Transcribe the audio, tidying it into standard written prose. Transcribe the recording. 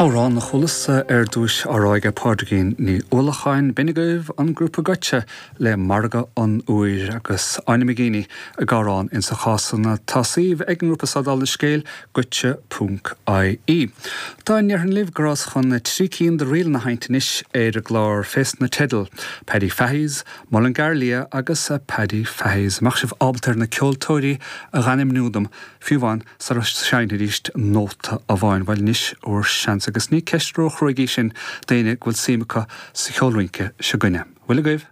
Amhrán a chualas ar dtúis á rá aige Pádraigín Ní Uallacháin. B'in agaibh an grúpa Goitse le Margadh an Iúir agus Áine McGeeney ag amhrán insa chás san. Tá suíomh ag an ngrúpa seo dála an scéil, goitse ponc ie. Dá ndéarfainn libh go rabhas chun 3 cinn de ríleanna a sheinnt anois ar an gclár fés na teidil, Paddy Fahy's, Mullingar Liath agus Paddy Fahy's. An mbeadh sibh ábalta ar na ceoltóirí a dh'ainmniú dom, fiú amháin sara seinnfidís nóta amháin. Bhuel anois bhur seans agus ní ceist ró-chruaidh í sin d'éinne go bhfuil suim acu sa cheol rince seo 'gainne. Bhfuil agaibh?